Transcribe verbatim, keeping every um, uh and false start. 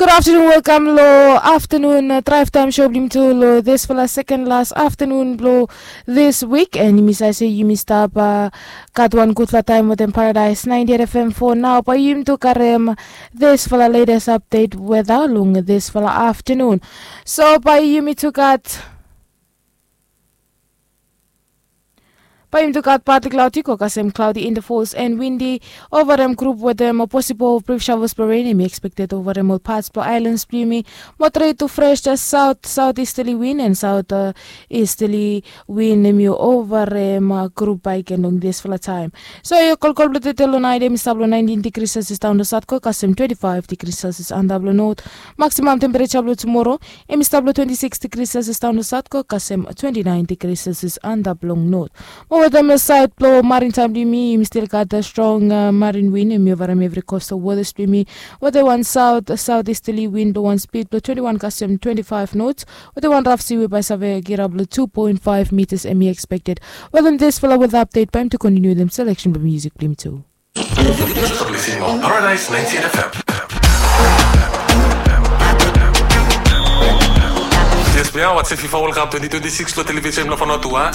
Gud aftenun, welkam long aftenun draev taem sho blong yumi tu long disfala seken las aftenun blong dis wik. An yumi save se yumi stap gat wan gudfala taem wetem Paradaes naenti et F M. Fo nao bae yumi tu karem disfala letes apdet weta long disfala aftenun. So bae yumi tu gat Bae yumi tu gat partly cloudy go kasem cloudy intervals and windy. Ovarem grup wetem posibol brif shavels blong ren hemi ekspekted ovarem ol pats blong aelans blong yumi. Moderet tu fres saot saot istali win and saot istali win hemi ovarem grup bae i ken long disfala taem. So yu kolkol blong tete long naet hemi stap long naentin digri selsias daon long saot go kasem twenti faef digri selsias antap long not. Maksimam tempereja blong tumoro hemi stap long twenti sikis digri selsias daon long saot go kasem twenti naen digri selsias antap long not. Mo wetem saed blong marin taem blong yumi yumi stil gat strong marin win hemi ovarem evri kostal wotas blong yumi. Wetem wan saot saot istali win blong wan spid blong twenti wan kasem twenti faef nots. Wetem wan raf si we bae save girap long tu poen faef mitas hemi ekspekted. Wetem disfala weta apdet bae yumi tu kontiniu wetem seleksen blong musik blong yumi tu. Paradise ninety-eight F M. Yes, we are watching FIFA World Cup twenty twenty-six lo television lo Fanotua.